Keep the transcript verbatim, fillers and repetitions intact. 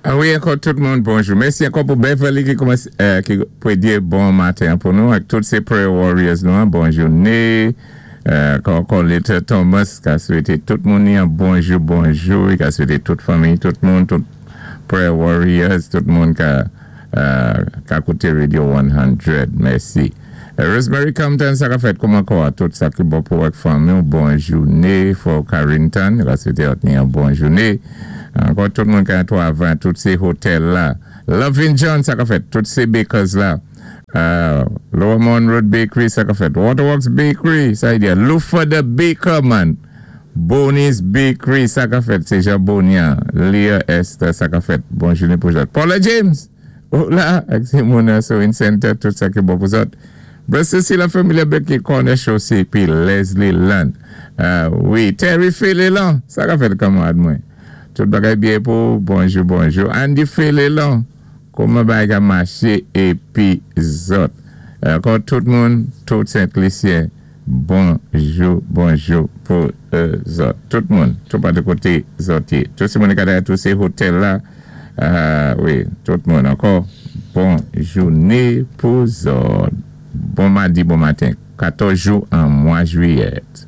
Ah wi, ankò tout moun, bonjou. Mèsi ankò pou Beverly ki koumansé, euh, ki pou di bon maten pou nou, ak tout sé prayer warriors nou, en, bon jouné. Euh, ankò Little Thomas ki a swété tout moun yon bonjou, bonjou, ki a swété tout fanmi, tout moun, tout prayer warriors, tout moun ki a, euh, ki a kouté Radio san. Mèsi. Euh, Rosemary Compton, sa ka fèt kouman kwa tout sa ki bon pou ak fanmi, bon jouné, for Carrington, ki a swété yon bon jouné. Ankò tout moun ki a twavay, tout sé otèl la. Loving John, sa ka fèt, tout sé bakers la. Uh, Lower Mount Road Bakery, sa ka fèt. Waterworks Bakery, sa yi di, Lufa the Baker Man. Bonnie's Bakery, sa ka fèt. Sé Jean Bonia. Leah Esther, sa ka fèt. Bon jouné pou zòt. Paula James, oh la, ak sé moun Sewing Center, tout sa ki bon pou zòt. Brother la Familia Becky Corner Chaussée, pi Leslie Land. Uh, wi, Terry Félélan, sa ka fèt kanmarad mwen. Tout bagay byen pou, bonjou, bonjou. Andy Félélan, kouman bagay ka maché épi zòt. Ankò tout moun, tout Sent-Lisyen, bonjou, bonjou pou euh, zòt. Tout moun, tout pa de koté zòt yé. Tout sé moun ki tout sé otèl la, euh, wi, tout moun ankò, bon jouné pou zòt. Bon madi, bon maten. katòz jou an mwa jwiyèt.